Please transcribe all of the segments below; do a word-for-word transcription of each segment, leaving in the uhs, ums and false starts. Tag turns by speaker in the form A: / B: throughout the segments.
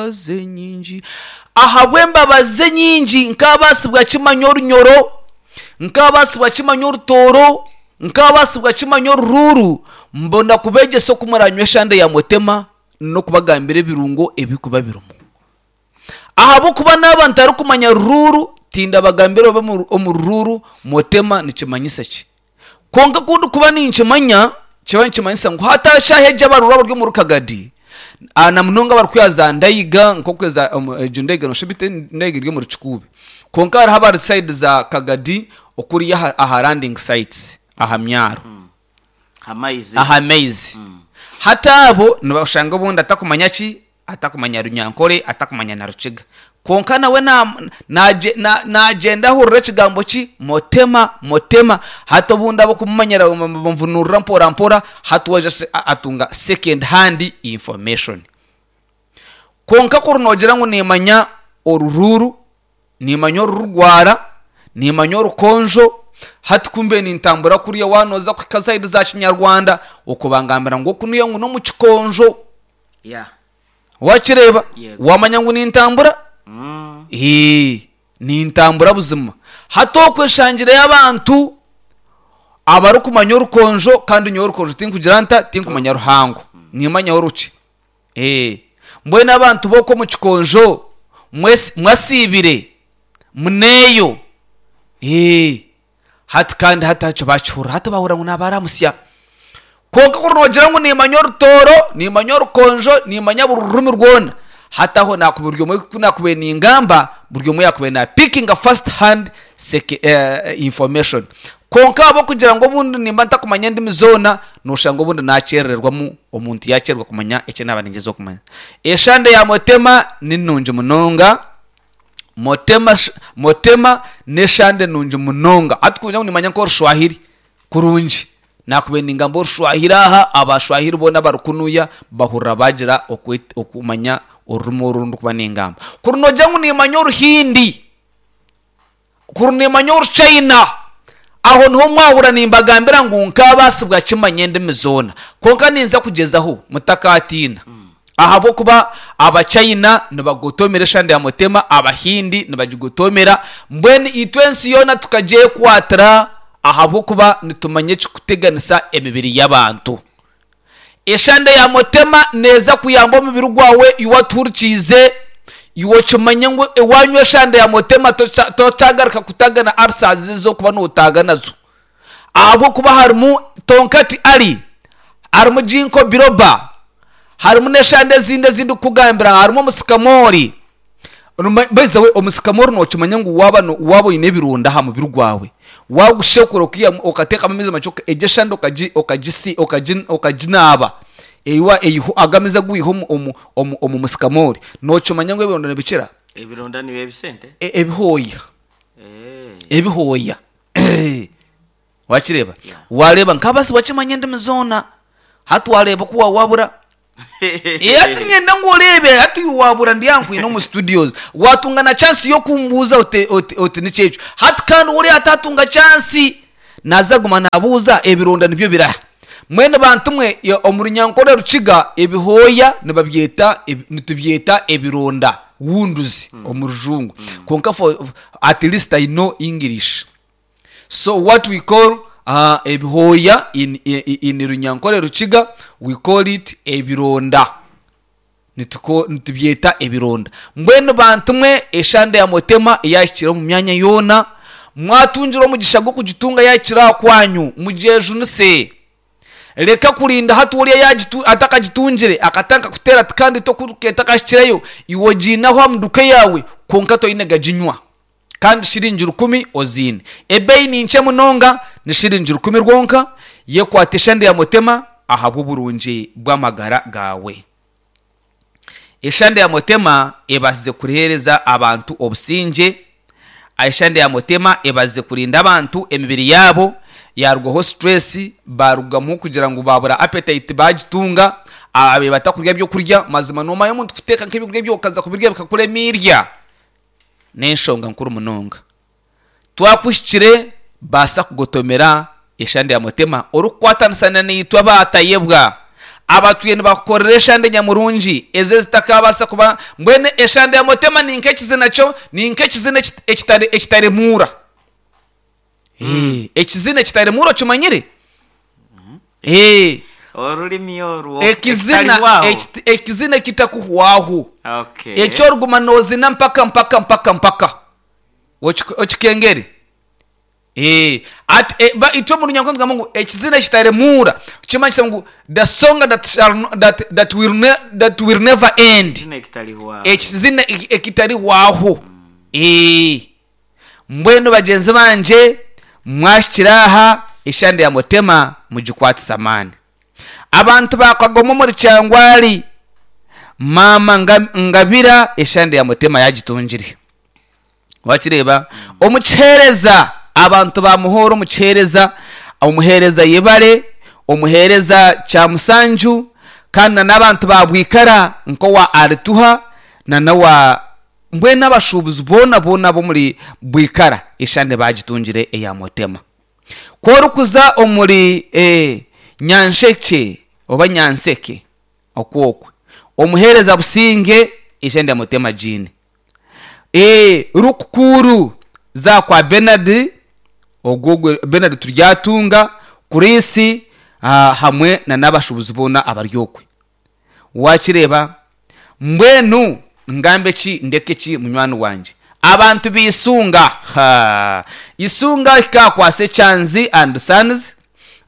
A: Ahabw'embabazi nyingi, ahabw'embabazi nyingi nkabaasibwa kimanya Orunyoro, nkabaasibwa kimanya Orutooro, nkabaasibwa kimanya Oruruuru. Mbona kubeegyesa oku muranywa eshande ya mutema n'okubagambira ebirungo ebirikuba birimu. Ahabw'okuba naaba ntarikumanya Ruruuru, tindabagambira oba omu Ruruuru mutema nikimanyisa ki. Kwonka ku ndikuba ninkimanya, kiba nikimanyisa ngu hati eshaaha egi abaruuru abari omuri Kagadi, na munonga abarikuya za Ndaiga, nk'oku egyo Ndaiga nooshusha oti Ndaiga eri omuri Kikuube. Kwonka hariho abari sayidi za Kagadi okuriya aha landing sites aha myaro. Aha maizi. Hati abo nibashanga obundi atakumanya ki? Atakumanya Runyankore, atakumanya na Rukiga. Kwonka nawe naagyenda ahurira ekigambo ki? Mutema, mutema. Hati obundi ab'okumumanyira bamuvunurira mpora mpora, hati we aija atunga second hand information. Kwonka kuri noogira ngu niimanya Oruruuru, niimanya Orurugwara, niimanya Orukonjo, hati ku mbe nintambura kuriya waaba nooza kuhika sayidi za Kinyarwanda, okwo bangambira ngu oku niyo ngu n'omu Kikonjo.
B: Yeah.
A: Wakireeba?
B: Yego.
A: Wamanya ngu nintambura?
B: Mm.
A: Ee, nintambura buzima. Hati okwo eshangireyo abantu abarikumanya Orukonjo kandi nyowe Orukonjo tinkugira nta? Tinkumanya ruhango. Nimanyaho rukye. Ee, mbwenu abantu b'okwo omu Kikonjo mwesi- mwasiibire? Muneeyo? Ee, hati kandi hati hakyo bakihurira hati bahurira ngu naabaramutsya. Kwonka kuri noogira ngu niimanya Orutooro, niimanya Orukonjo, niimanya buri rurimi rwona, hati aho naakuba buri omwe ku naakubaire ningamba, buri omwe yaakubaire naapikinga first hand seke, eh, information. Kwonka ahabw'okugira ngu obundi nimba ntakumanya endimi zoona, nooshanga obundi naakyerererwamu, omuntu yaakyererwa kumanya eki naaba ningyezaho kumanya. Eshande ya Motema ni nungi munonga. Motema, Motema n'eshande nungi munonga. Hati ku ngira ngu nimanya nk'Orushwahiri kurungi, naakubaire ningamba Orushwahiri aha, Abashwahiri boona abari kunuya bahurira baagira okwet- okumanya orurimi oru ndikuba ningamba. Kuri noogira ngu nimanya Oruhindi, kuri nimanya Oruchaina, aho niho mwahurira nimbagambira ngu nkaabaasibwa kimanya endimi zoona. Kwonka ninza kugyezaho, mutakaatiina. Ahabw'okuba Abachina nibagotomera eshande ya Mutema, Abahindi nibagigotomera, mbwenu itwe ensi yoona tukagyekwatira ahabw'okuba nitumanya ekirikuteganisa emibiri y'abantu. Eshande ya Mutema neeza kuyamba omubiri gwawe iwe atuhurikiize, iwe okimanye ngu waanywa eshande ya Mutema tokyagaruka kutagana ulcers ezi orikuba nootaaga nazo. Ahabw'okuba harimu tonkati ali, harimu ginkgo biloba, harimu n'eshande ezindi ezi ndikukugambira, harimu omusikamoori. By the way, omusikamoori nookimanya ngu waaba no- waaba oine ebironda aha mubiri gwawe, waagushekura okaihamu okateekamu amaizi makye egyo eshande okagi okagisi okagi okaginaaba, eiwa eiho ago amaizi agu waiha omu omu omu omu musikamoori, nookimanya ngu ebironda nibikira?
B: Ebironda nibiba ebisente?
A: E- Ebihooya.
B: Eh.
A: Ebihooya. Wakireeba?
B: Yeah.
A: Waareeba nk'abaasi bakimanya endimi zoona. Hati waareeba oku waawabura. Eh, hati niinyenda ngu oreebe, hati iwe waabura ndi aha nkwine omu studios. Waatunga na chance y'okumbuuza oti, oti, oti niki ekyo. Hati kandi oriya ataatunga chance, naaza kuguma naabuuza ebironda nibyo biraha. Mbwenu bantu mwe, ya- omu Runyankore Rukiga, ebihooya nibabyeta, ebi- nitubyeta ebironda, wounds omu Rujungu. Kwonka for, at least I know English. So what we call uh, ebihooya in, in, in Runyankore Rukiga, we call it ebironda. Nituko, nitubyeta ebironda. Mbwenu bantu mwe, eshande ya Mutema eyahikire omu myanya yoona, mwatungira omugisha gw'okugitunga yahikire aha kwanyu, mugyejunise. Reka kurinda hati oriya yagitu, atakagitungire akatandika kuteera ati kandi tokuruka etakahikireyo, iwe ogiine aho aha muduka yaawe kwonka toine gaginywa. Kandi shiringi rukumi oziine. Ebeeyi ni nkye munonga, ni shiringi rukumi rwonka. Yekwate eshande ya Mutema ahabw'oburungi bw'amagara gaawe. Eshande ya Mutema ebaasize kuheereza abantu obusingye. Eshande ya Mutema ebaasize kurinda abantu emibiri yaabo yaarugwaho stress, baarugamu kugira ngu baabura appetite baagitunga, ababaire batakurya byokurya. Mazima noomanya omuntu kuteeka nk'ebyokurya byawe okaza kubirya bikakuremeerya? N'enshonga nkuru munonga. Twakuhikire, baasa kugotomera eshande ya Mutema orikukwatanisa na naitwe abaatayebwa. Abatwiire nibakukorera eshande nyamurungi ezo ezitakabasa kuba mbwenu eshande ya motema ni nk'ekizina kyo, ni nk'ekizina ekitari ekitaremuura. Eh, ekizina ekitaremuura okimanyire? Eh,
B: Orurimi orwo
A: ekizina
B: ekitarihwaho.
A: ekit- ekizina ekitakuhwaho.
B: Okay.
A: Ekyoruguma nozina mpaka mpaka mpaka mpaka Okik- okikengere. Eh, at eh, ba itwe mu runyankore tugamba ngu ekizina ekitaremuura kimanyisa ngu the song that shall no- that that will ne, that will never end.
B: Ekizina ekitarihwaho.
A: Ekizina eki- ekitarihwaho. Eh, mbwenu bagyenzi bangye, mwahikire aha eshande ya mutema mugikwatise amaani. Abantu bakagoma omuri Kyangwari, maama Nga- ngabira eshande ya mutema yagitungire. Wakireeba omukiheereza, abantu bamuhoora omukiheereza, omuheereza yebare, omuheereza Kyamusanju, kandi na n'abantu ba Bwikara nk'owa Arituha na n'owa mbwenu abashuubuzi boona boona ab'omuri Bwikara eshande bagitungire eya mutema. Ku orikuza omuri eh, Nyansheke oba Nyanseke okwokwe, omuheereza Businge eshande ya mutema giine. Eh, Rukukuru za kwa Bernard, ogwo Bernard Turyatunga, Kurisi, ah, hamwe na n'abashuubuzi boona abaryokwe. Wakireeba mbwenu ngambe ki ndeke ki munywani wangye. Abantu bisunga, ha isunga ikakwasa Ekyanzi and Sons,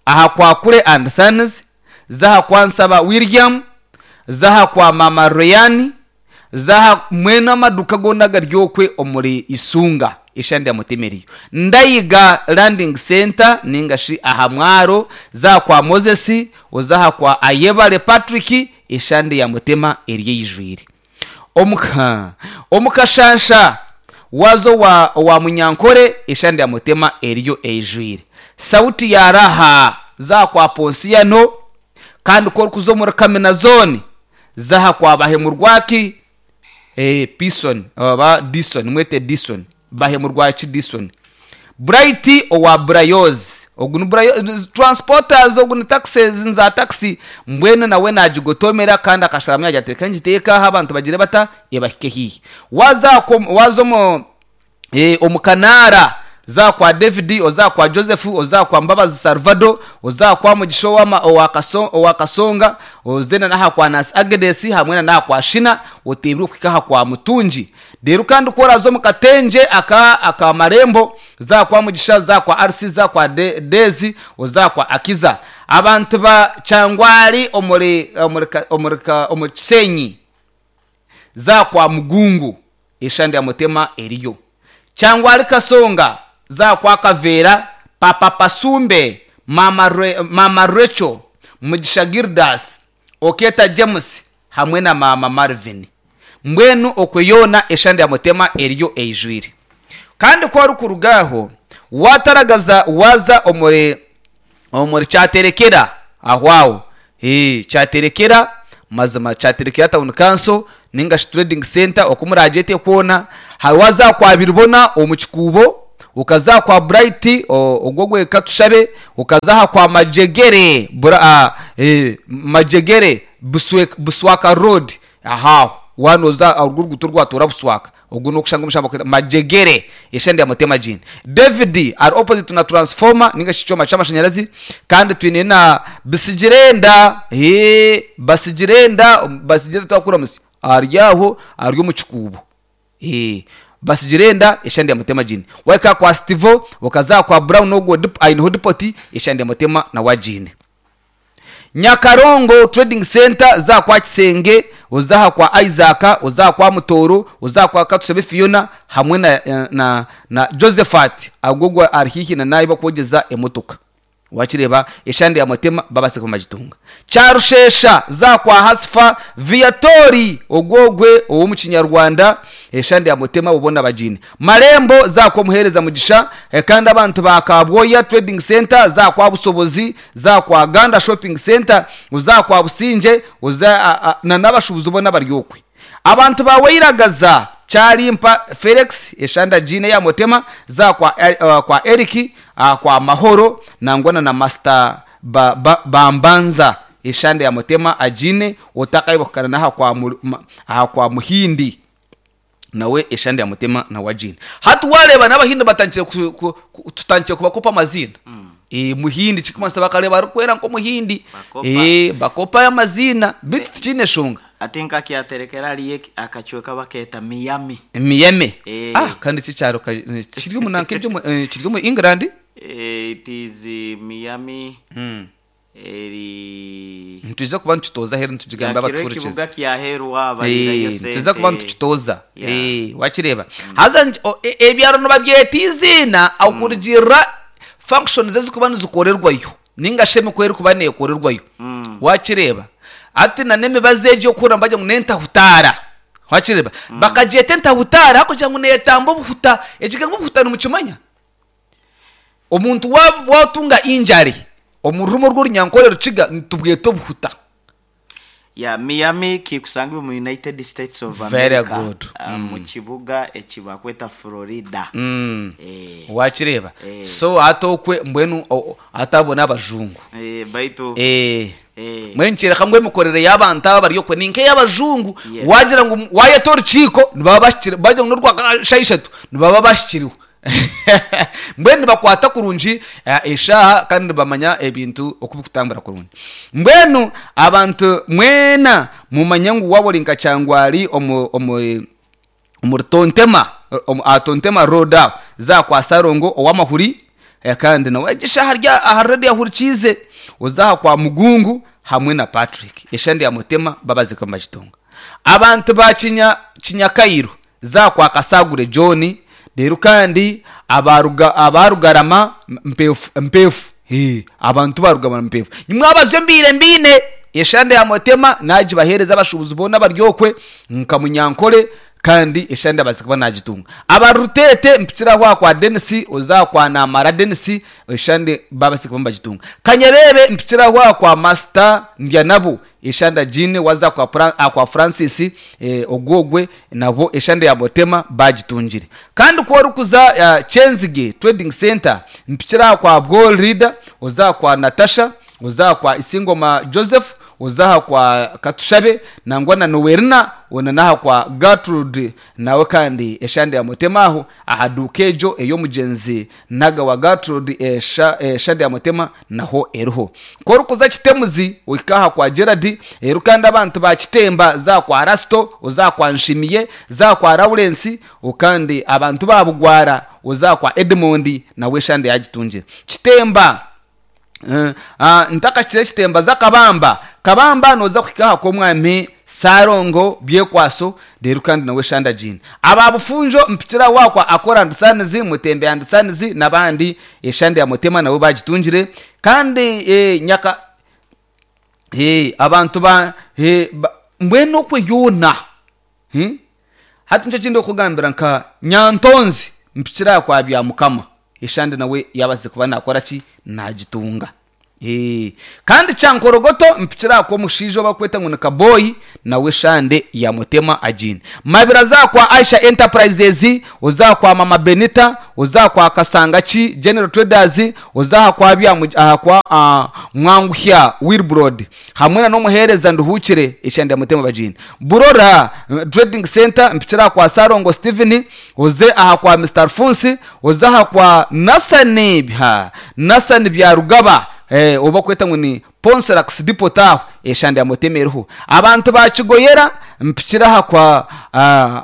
A: aha kwa Kure and Sons, zaha kwa Nsaba William, zaha kwa Mama Royani, zaha mwena amaduka gona garyokwe omuri isunga eshande ya mutima eriyo. Ndayiga Landing Center ningashi aha mwaro, zaha kwa Moses, ozaha kwa Ayebare Patrick, eshande ya mutima eriyo eyijwire. Omuka omukashansha wazo wa, wa Munyankore eshande ya mutima eriyo eyijwire. Sauti ya Raha zaha kwa Ponsiano, kandi ko orikuza omuri Kamina Zone zaha kwa Bahemurwaki, eh, Pison oba Dison, mwete Dison, Bahemurwaki Dison, Bright owa Brayoz, ogu ni Brayoz transporters, ogu ni taxis nza taxi, mbwenu nawe nagigotomera kandi akasharamu yagira ati reka ngiteeke aha abantu bagire bata ebahike hihi. Waza kom- waza omu eh, omu Kanaara za kwa David, oza kwa Joseph, oza kwa Mbabazi Salvador, oza kwa Mugisha owa owa Kaso- owa Kasonga, ozena n'aha kwa Nancy Agnes, hamwe na n'aha kwa Shina, oteebire okuhika aha kwa Mutungi. Rero kandi ku oraza omu Katenje aka aka Marembo, za kwa Mugisha, za kwa R C, za kwa De, Dezi, oza kwa Akiza. Abantu ba Kyangwari omuri omuri ka- omuri ka- omu Kisenyi za kwa Mugungu eshande ya mutema eriyo. Kyangwari Kasonga za kwa Kavera, Papa Pasumbe, Mama Re, Mama Rachel, Mugisha Gildas, Oketa James hamwe na Mama Marvin. Mbwenu okwe yoona eshande ya mutema eriyo eyijwire. Kandi ku orikuruga aho wataragaza waza omuri omuri Kyaterekera aho aho, eh, Kyaterekera mazima Kyaterekera Town Council ninga shi Trading Center oku muragyete kwona, hari waza kwa Biribona omu Kikuubo, ukaza kwa Bright o- ogwo gweka tushabe, ukaza aha kwa Majegere bura, ah, eh, Majegere Buswe, Buswaka Road ahaho wanoza urwo ruguto rwatura Buswaka, ogwo nokushanga omushamba kweta Majegere eshande ya mutema jini. David ari opposite na transformer ninga shi kyoma ky'amashanyarazi. Kandi twine na Bisigirenda, eh, Basigirenda Basigirenda twakura musi ari aho ari omu Kikuubo. Eh, Basigirenda eshande ya mutema jini. Waika kwa Stivo, ukaza kwa Brown ogwo dip- aineho dipoti eshande ya mutema na wajine. Nyakarongo Trading Center za kwa Kisenge, uzaha kwa Isaac, uzaha kwa Mutoro, uzaha kwa Katusebe Fiona hamwe na, na, na Josephat agogwa ari hihi na nayi bakwogeza emotoka. Wakireba eshande ya mutema babase kumagitunga. Kyarushesha za kwa Hasfa Viatori ogwogwe owo mu Kinyarwanda eshande ya mutema ubona bajine. Marembo za kwa Muhereza Mugisha, eh, kandi abantu ba Kabwoya Trading Center za kwa Busobozi, za kwa Ganda Shopping Center, uza kwa Businje, uza a, a, na n'abashubuzi ubona baryokwe. Abantu ba Weiragaza Kyarimpa Felix eshanda jine ya mutema za kwa, uh, kwa Eric, uh, kwa Mahoro nangwana na Master ba, ba, Bambanza. Eshande ya mutema ajine otakaibukana naha kwa mu- ma- aha kwa muhindi nawe eshande ya mutema nawe ajine. Hati wareba n'abahindi batangire ku- ku- ku- tutangire kubakopa amazina. Eh, muhindi chikumasa bakareba arikwera nk'omuhindi.
B: Bakopa.
A: Eh, bakopa amazina bitu tikiine shonga.
B: Ate nkakyaterekera hariyo akacweka bakeeta Miami.
A: Miyeme.
B: Eh.
A: Ah, kandi kikyaro ka- eh, kiri omu nanka ebyo mu- eh, kiri omu England.
B: Eh, it is eh, Miami eri
A: Nituza kuba nitutoza heru nitugigamba
B: yakiro
A: abaturikiza.
B: ekibuga kyaheru abalirayo
A: Eh, tuza kuba nitukitoza.
B: Yeah.
A: Eh, wakireba haza nti- o- e- ebyaro nibabyeta iziina akurugirira functions ezikuba nizikorerwayo ninga shi emikoro erikuba neekorerwayo. Wakireba ati na n'emibazi egi okuhurira nibagira ngu n'entahutaara. Wakireba bakagyeta entahutaara hakugira ngu neetamba obuhuta. Ekigambo obuhuta nimukimanya? Omuntu wa- watunga injury omu rurimi orw'orunyankore rukiga nitubweta obuhuta.
B: Ya Miami kikusangibwa mu United States of
A: Very
B: America.
A: good.
B: Ah, mu kibuga ekibakweta Florida.
A: Mm.
B: Eh,
A: Wakireba.
B: Eh.
A: So atokwe mbwenu o- o- atabona abajungu.
B: eh, baitu
A: Eh.
B: eh,
A: Mbwenu kyereka ngu emikorere y'abantu aba bari okwe ni nk'ey'abajungu.
B: Yes.
A: Wagira ngu wayeta orukiiko nibaba bashikire, bagira ngu n'orwa shaaha ishatu nibaba bashikiriwe. Mbwenu nibakwata kurungi eh, eshaaha kandi nibamanya ebintu oku bikutambura kurungi. Mbwenu abantu mwena mumanye ngu waaba ori nka Kyangwari omu omu omuri Tontema, omu- aha Tontema Road aho za kwa Sarongo ow'amahuri, eh, kandi nawe egisha harya aha radio ahurikiize oza aha kwa Mugungu hamwe na Patrick eshandi ya mutema babazika mu bagitunga. Abantu ba Kinya Kinyakairo za kwa Kasagure John, rero kandi abaruga abarugarama mpefu mpefu. Eh, abantu barugarama mpefu nimwabazo mbire mbine eshande ya mutema nagibahereza abashubuzi bona baryokwe nka munyankole kandi eshande abazikuba nagitunga. Abarutete mpikira kwa kwa Dennis oza kwa Namara Dennis eshande babasikuba bagitunga. Kanyerebe mpikira kwa kwa Master Ndyanabo eshanda jine waza kwa Fran, ah, kwa Francis eh, ogwogwe nabo eshande ya mutema bagitungire. Kandi ko rukuza uh, Chenzige Trading Center mpikira kwa Gold Leader oza kwa Natasha oza kwa Isingoma Joseph ozaha kwa Katushabe nangwa na Nowerina ona naha kwa Gertrude nawe kandi eshande ya mutema aho ahaduka ejo ey'omugenzi naga wa Gertrude esha, eshande ya mutema naho eriho. Korukuza Kitemuzi ohika kwa Gerard eru kandi abantu ba Kitemba za kwa Rasto oza kwa Nshimiye za kwa Lawrence okandi abantu ba Bugwara oza kwa Edmond nawe eshande yagitungira. Kitemba. Uh, uh, ntakakire Kitemba za Kabamba Kabamba noza kuhika komwami Sarongo byekwaso rero kandi nawe shanda jini aba bufunjo mpikira wakwa akora ndisanizi mutembe andisanizi nabandi eshande ya mutema nabo bagitungire. Kandi eh, nyaka eh, abantu ba eh, ba, mbwenu okwe yona hmm? Hati nicyo kindi okugambira nka Nyantonzi mpikira kwa bya mukama eshande nawe yabaze kuba nakora ki nagitunga. Eh, kandi Kyankorogoto mpikira ko mushijo bakweta ngo ni Kaboyi nawe shande ya mutema ajini. Mabira za kwa Aisha Enterprises uza kwa Mama Benita uza kwa Kasangachi General Traders uza kwa bya mu- aha kwa uh, Mwanguhya Wilbrod hamwe na nomuhereza nduhukire eshande ya mutema bajini. Burora eh, Trading Center mpikira kwa Sarongo Steven uze aha kwa Mister Alphonse uza aha kwa Nasani bya Nasani bya Rugaba eh, oba kweta ngu ni Ponselax Depot aho eshande ya mutema eriho. Abantu ba Kigoyera mpikira aha kwa ah,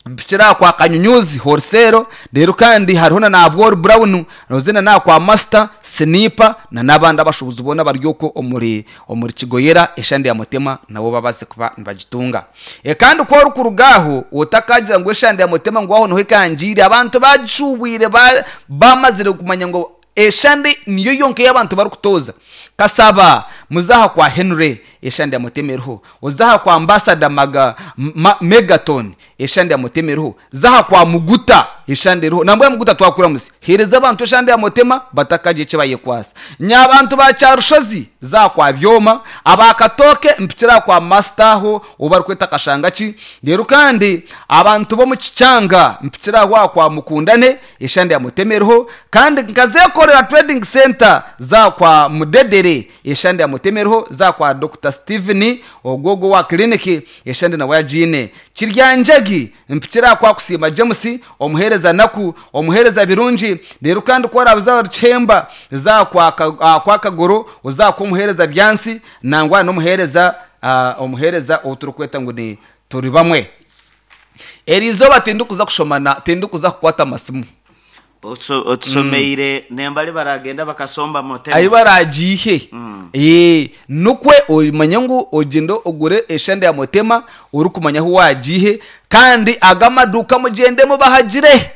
A: mpikira kwa Kanyunyuzi Horsero rero kandi hariho na Nabwor Brown rozina na kwa Master Sniper na nabandi abashubuzi bona baryoko omuri omuri Kigoyera eshande ya mutema nabo babaze kuba nibagitunga. E, kandi ko rukurugaho otakagira ngo eshande ya mutema ngo aho niho ikangire abantu bacubwire ba, bamazire kumanya ngo eshande niyo yonke y'abantu bari kutoza. Kasaba muzaha kwa Henry Eshande ya Mutema eriho. Ozaha kwa Ambassador Maga ma, Megaton, eshande ya Mutema eriho. Zaha kwa Muguta, eshande eriho. Nambwa Muguta twakura musi hereza abantu eshande ya Mutema batakaje icyo bayekwasa. Nyabantu ba Cyarushozi za kwa Byoma, abakatoke mpikira kwa Mastaho ubari kweta Kashangachi. Rero kandi abantu bo mu Kicyanga mpikira kwa kwa Mukundane, eshande ya Mutema eriho. Kandi nkazekorera Trading Center za kwa Mudedere, eshande ya Mutema eriho. Za kwa Doctor Steven ogogo wa clinic, eshande na wajine Kiryanjagi mpikira kwa Kusima James, omuhereza naku omuhereza birungi. Rero kandi ko arabuza chemba za kwa kwa Kagoro, uza ko muhereza byansi nangwa no muhereza uh, omuhereza oturukweta ngo ni turi bamwe. Erizoba tindukuza kushomana, tindukuza kukwata masimu.
B: Otusomeire mm. Nembali baragenda bakasomba Mutema
A: ayi baragihe mm. Eh nukwe omanye ngu ogendo ogure eshande ya Mutema uri kumanya aho wagihe. Kandi agamaduka mugendemo bahagire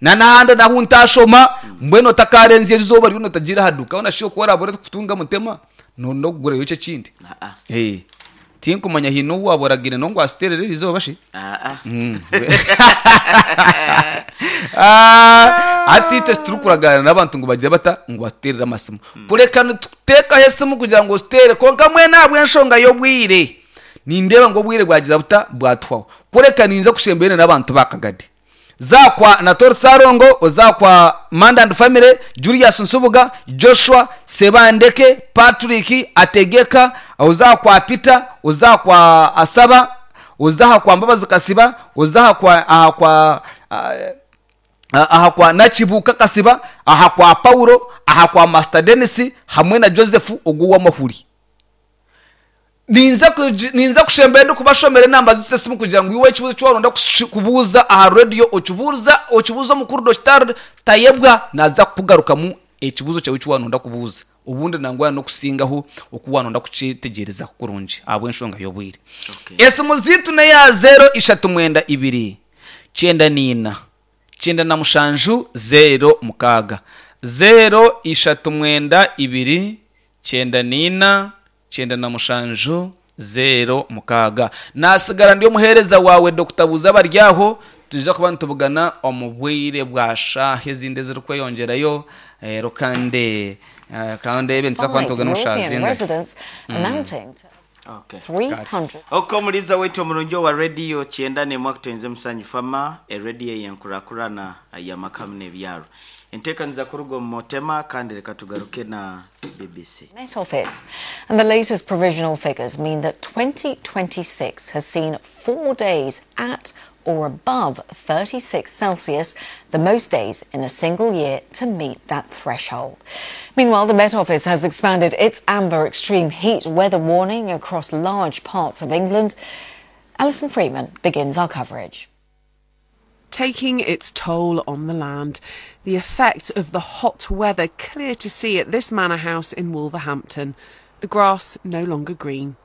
A: na nahanda naho ntashoma mbweno takarenze izuba ryo notagira haduka ona shiyo kora bore kutunga Mutema no no kugura yoce kindi. Eh tinkumanya hino waboragire no ngo asiterere izuba shi.
B: Ah
A: ah ati testrukuragana nabantu ngo bagira bata ngo baterera amasimu. Kureka nuteka hesimu kugira ngo utere konka mwe nabwe enshonga yo bwire nindeba ngo bwire bwagira buta bwatwaho. Kureka ninza kushembere nabantu bakagadi zakwa Nator Sarongo, ozakwa Manda and Family, Julius Nsubuga, Joshua Sebandeke, Patrick Ategeka, ozakwa Peter, ozakwa Asaba, uzaha kwa Mbabazi Kasiba, uzaha kwa aha kwa aha kwa Nachibuka Kasiba, aha kwa Paulo, aha kwa Master Dennis hamwe na Joseph oguwa mahuri. Ninza ninza kushembera kubashomera namba zose simu kugira ngo iwe ikibuzo cyo waronda kubuza aha radio okibuza okibuzo mukuru Doctor Tayebwa naza kugaruka mu ekibuzo cyawe cyo waronda kubuza. Ubundi nangwa no kusingaho okuwanonda kucitegereza kurungi abwe enshonga yobwire. Okay. Esimu zitu na ya zero ishatu mwenda ibiri cyenda nina cyenda na mushanju zero mukaga zero ishatu mwenda ibiri cyenda nina cyenda na mushanju zero mukaga. Nasigara ndiyo muhereza wawe Doctor Buzabaryaho tuja kuba ntubugana omubwire bwa shahe zinde ziri kweyongerayo eh, rukande kandi ebintu zakwantu gano shazinga.
B: Okay. Oko muliza wetu omurungi wa radio kyenda ne mwakutenze musanyu fama e radio yankurakurana ya makamne byaro. Enteekaniza kurugo Mutema kandi reka tugaruke na B B C.
C: Met Office and the latest provisional figures mean that twenty twenty-six has seen four days at or above thirty-six Celsius, the most days in a single year to meet that threshold. Meanwhile, the Met Office has expanded its amber extreme heat weather warning across large parts of England. Alison Freeman begins our coverage.
D: Taking its toll on the land. The effect of the hot weather clear to see at this manor house in Wolverhampton. The grass no longer green.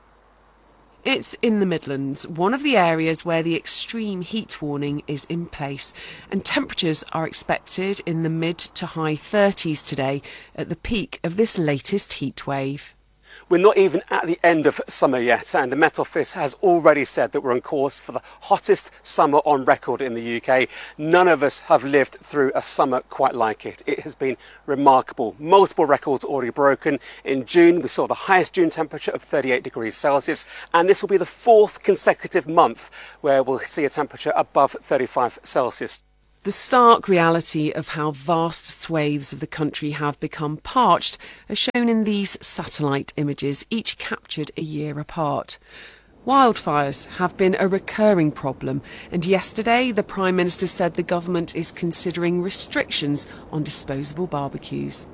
D: It's in the Midlands, one of the areas where the extreme heat warning is in place, and temperatures are expected in the mid to high thirties today at the peak of this latest heat wave.
E: We're not even at the end of summer yet, and the Met Office has already said that we're on course for the hottest summer on record in the U K. None of us have lived through a summer quite like it. It has been remarkable. Multiple records already broken. In June, we saw the highest June temperature of thirty-eight degrees Celsius, and this will be the fourth consecutive month where we'll see a temperature above thirty-five Celsius.
D: The stark reality of how vast swathes of the country have become parched are shown in these satellite images, each captured a year apart. Wildfires have been a recurring problem, and yesterday the Prime Minister said the government is considering restrictions on disposable barbecues.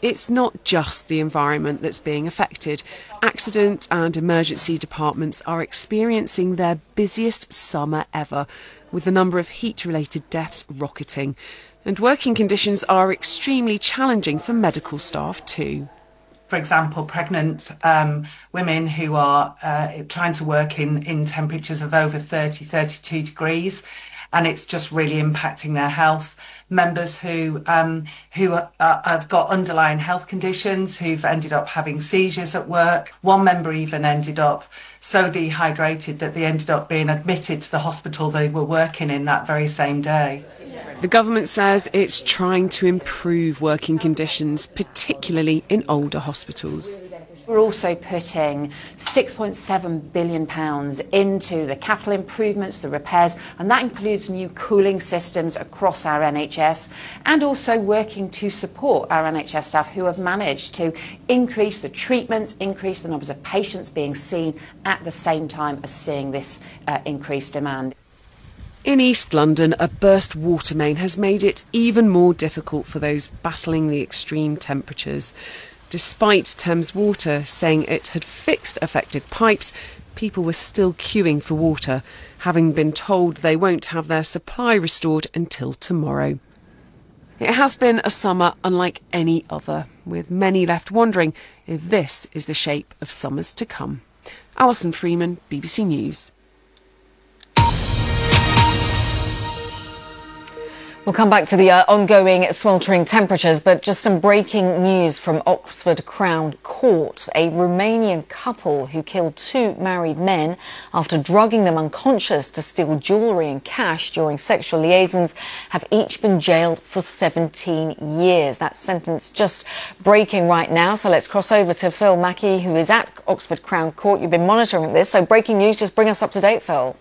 D: It's not just the environment that's being affected. Accident and emergency departments are experiencing their busiest summer ever, with the number of heat-related deaths rocketing. And working conditions are extremely challenging for medical staff too.
F: For example, pregnant um, women who are uh, trying to work in, in temperatures of over thirty, thirty-two degrees, and it's just really impacting their health. Members who um, who are, uh, have got underlying health conditions, who've ended up having seizures at work. One member even ended up so dehydrated that they ended up being admitted to the hospital they were working in that very same day.
D: The government says it's trying to improve working conditions, particularly in older hospitals.
G: We're also putting six point seven billion pounds into the capital improvements, the repairs, and that includes new cooling systems across our N H S, and also working to support our N H S staff who have managed to increase the treatments, increase the numbers of patients being seen at the same time as seeing this, uh, increased demand.
D: In East London, a burst water main has made it even more difficult for those battling the extreme temperatures. Despite Thames Water saying it had fixed affected pipes, people were still queuing for water, having been told they won't have their supply restored until tomorrow. It has been a summer unlike any other, with many left wondering if this is the shape of summers to come. Alison Freeman, B B C News.
C: We'll come back to the, uh, ongoing sweltering temperatures, but just some breaking news from Oxford Crown Court. A Romanian couple who killed two married men after drugging them unconscious to steal jewellery and cash during sexual liaisons have each been jailed for seventeen years. That sentence just breaking right now. So let's cross over to Phil Mackey, who is at Oxford Crown Court. You've been monitoring this. So breaking news, just bring us up to date, Phil.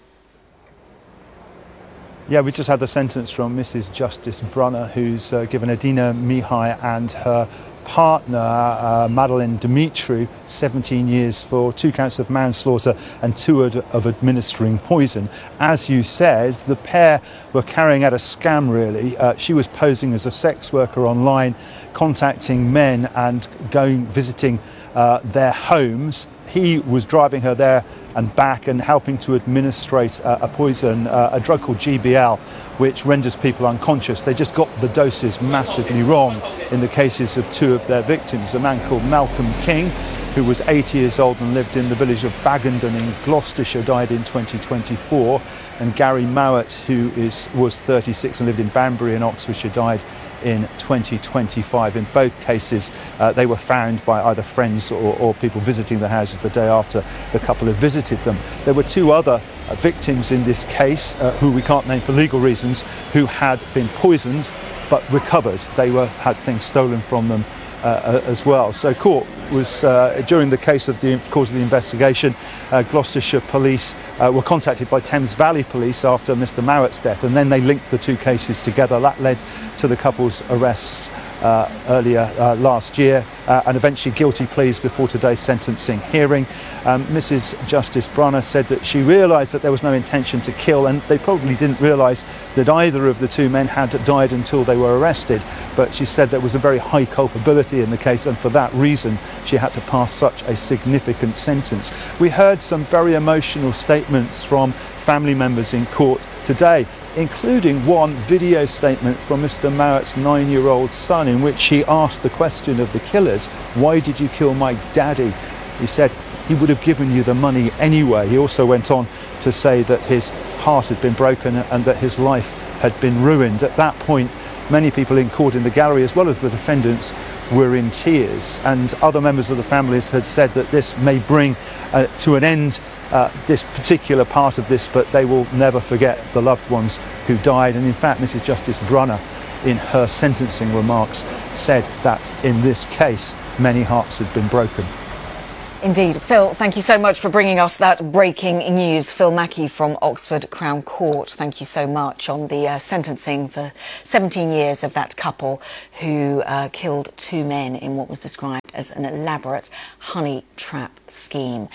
H: Yeah, we just had the sentence from Missus Justice Brunner, who's, uh, given Adina Mihai and her partner, uh, Madeline Dimitru, seventeen years for two counts of manslaughter and two ad-, of administering poison. As you said, the pair were carrying out a scam, really. Uh, she was posing as a sex worker online, contacting men and going visiting, uh, their homes. He was driving her there and back and helping to administrate, uh, a poison, uh, a drug called G B L, which renders people unconscious. They just got the doses massively wrong in the cases of two of their victims, a man called Malcolm King, who was eighty years old and lived in the village of Bagendon in Gloucestershire, died in twenty twenty-four, and Gary Mowat, who is, was thirty-six and lived in Banbury in Oxfordshire, died in twenty twenty-five. In both cases, uh, they were found by either friends or, or people visiting the houses the day after the couple had visited them. There were two other, uh, victims in this case, uh, who we can't name for legal reasons, who had been poisoned but recovered. They were had things stolen from them uh, as well. So court was, uh, during the case of the course of the investigation, uh, Gloucestershire Police, uh, were contacted by Thames Valley Police after Mister Mowatt's death, and then they linked the two cases together. That led to the couple's arrests, uh, earlier, uh, last year, uh, and eventually guilty pleas before today's sentencing hearing. Um, Missus Justice Brunner said that she realised that there was no intention to kill, and they probably didn't realise that either of the two men had died until they were arrested, but she said there was a very high culpability in the case, and for that reason she had to pass such a significant sentence. We heard some very emotional statements from family members in court today, including one video statement from Mister Mowatt's nine-year-old son, in which he asked the question of the killers, "Why did you kill my daddy?" He said he would have given you the money anyway. He also went on to say that his heart had been broken and that his life had been ruined. At that point, many people in court in the gallery, as well as the defendants, were in tears, and other members of the families had said that this may bring, uh, to an end, uh, this particular part of this, but they will never forget the loved ones who died. And in fact, Missus Justice Brunner, in her sentencing remarks, said that in this case, many hearts had been broken.
C: Indeed. Phil, thank you so much for bringing us that breaking news. Phil Mackey from Oxford Crown Court, thank you so much on the, uh, sentencing for seventeen years of that couple who, uh, killed two men in what was described as an elaborate honey trap scheme.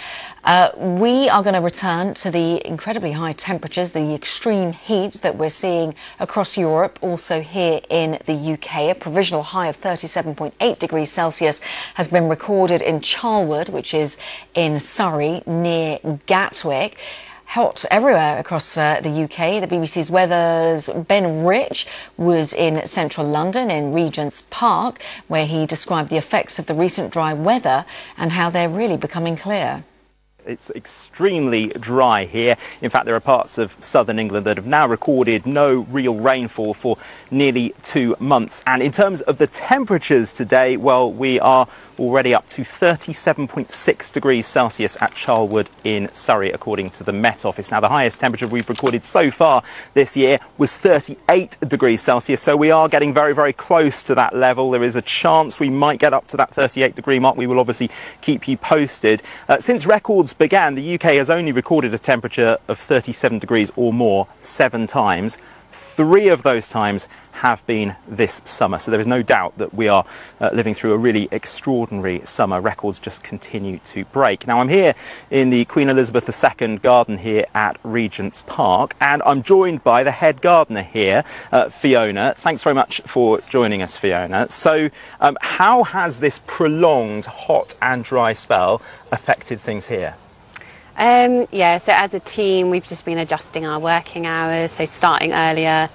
C: Uh, we are gonna return to the incredibly high temperatures, the extreme heat that we're seeing across Europe, also here in the U K. A provisional high of thirty-seven point eight degrees Celsius has been recorded in Charlwood, which is in Surrey, near Gatwick. Hot everywhere across, uh, the U K. The B B C's weather's Ben Rich was in central London in Regent's Park, where he described the effects of the recent dry weather and how they're really becoming clear.
I: It's extremely dry here. In fact, there are parts of southern England that have now recorded no real rainfall for nearly two months. And in terms of the temperatures today, well, we are already up to thirty-seven point six degrees Celsius at Charlwood in Surrey, according to the Met Office. Now, the highest temperature we've recorded so far this year was thirty-eight degrees Celsius, so we are getting very, very close to that level. There is a chance we might get up to that thirty-eight degree mark. We will obviously keep you posted. Uh, since records began, the U K has only recorded a temperature of thirty-seven degrees or more seven times. Three of those times have been this summer, so there is no doubt that we are, uh, living through a really extraordinary summer. Records just continue to break. Now, I'm here in the Queen Elizabeth the Second garden here at Regent's Park, and I'm joined by the head gardener here, uh, Fiona. Thanks very much for joining us, Fiona. So, um, how has this prolonged hot and dry spell affected things here?
J: Um, yeah, so as a team, we've just been adjusting our working hours, so starting earlier,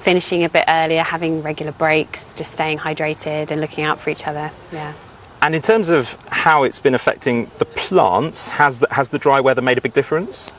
J: finishing a bit earlier, having regular breaks, just staying hydrated and looking out for each other, yeah.
I: And in terms of how it's been affecting the plants, has the, has the dry weather made a big difference?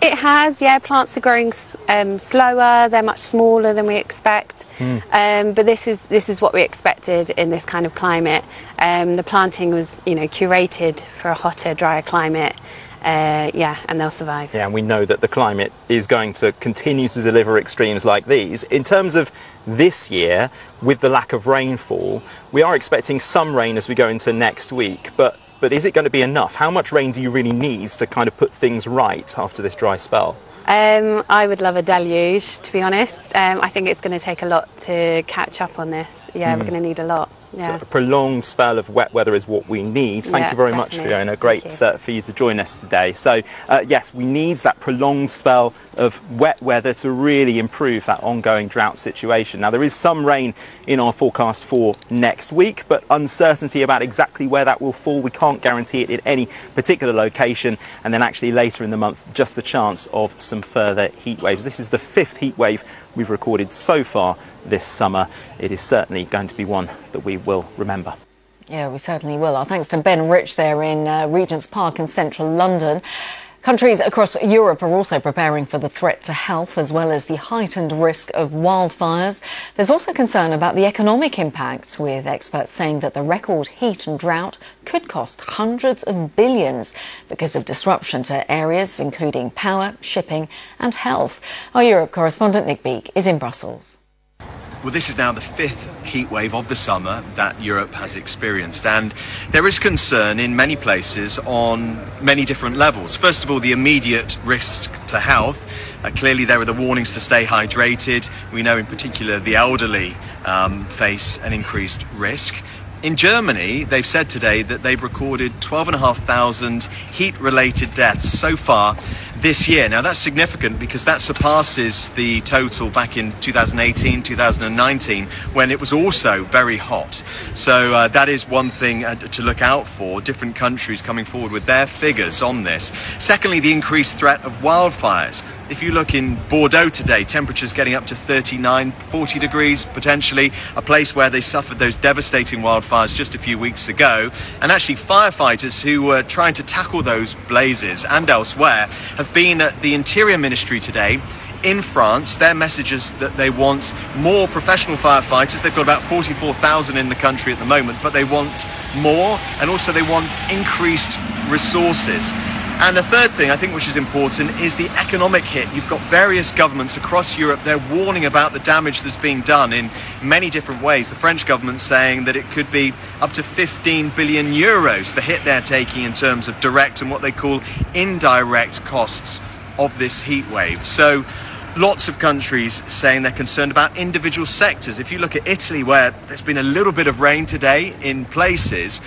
J: It has, yeah. Plants are growing, um, slower, they're much smaller than we expect.
I: Mm.
J: Um, but this is, this is what we expected in this kind of climate. Um, the planting was, you know, curated for a hotter, drier climate. Uh, yeah, and they'll survive.
I: Yeah, and we know that the climate is going to continue to deliver extremes like these. In terms of this year, with the lack of rainfall, we are expecting some rain as we go into next week, but, but is it gonna be enough? How much rain do you really need to kind of put things right after this dry spell?
J: Um, I would love a deluge, to be honest. Um, I think it's gonna take a lot to catch up on this. Yeah,
I: Mm.
J: we're gonna need a lot. Yeah.
I: So a prolonged spell of wet weather is what we need. Thank
J: Yeah,
I: you very much,
J: definitely.
I: Fiona. Great
J: Thank you.
I: uh, for you to join us today. So, uh, yes, we need that prolonged spell of wet weather to really improve that ongoing drought situation. Now, there is some rain in our forecast for next week, but uncertainty about exactly where that will fall. We can't guarantee it in any particular location. And then actually later in the month, just the chance of some further heat waves. This is the fifth heat wave we've recorded so far this summer. It is certainly going to be one that we will remember.
C: Yeah, we certainly will. Our thanks to Ben Rich there in, uh, Regent's Park in central London. Countries across Europe are also preparing for the threat to health as well as the heightened risk of wildfires. There's also concern about the economic impact, with experts saying that the record heat and drought could cost hundreds of billions because of disruption to areas including power, shipping and health. Our Europe correspondent Nick Beake is in Brussels.
K: Well, this is now the fifth heat wave of the summer that Europe has experienced, and there is concern in many places on many different levels. First of all, the immediate risk to health. Uh, clearly, there are the warnings to stay hydrated. We know in particular the elderly, um, face an increased risk. In Germany, they've said today that they've recorded twelve and a half thousand heat-related deaths so far this year. Now, that's significant because that surpasses the total back in two thousand eighteen, two thousand nineteen, when it was also very hot. So, uh, that is one thing, uh, to look out for, different countries coming forward with their figures on this. Secondly, the increased threat of wildfires. If you look in Bordeaux today, temperatures getting up to thirty-nine, forty degrees potentially, a place where they suffered those devastating wildfires just a few weeks ago. And actually firefighters who were trying to tackle those blazes and elsewhere have been at the Interior Ministry today in France. Their message is that they want more professional firefighters. They've got about forty-four thousand in the country at the moment, but they want more, and also they want increased resources. And the third thing, I think, which is important, is the economic hit. You've got various governments across Europe, they're warning about the damage that's being done in many different ways. The French government saying that it could be up to fifteen billion euros, the hit they're taking in terms of direct and what they call indirect costs of this heat wave. So lots of countries saying they're concerned about individual sectors. If you look at Italy, where there's been a little bit of rain today in places,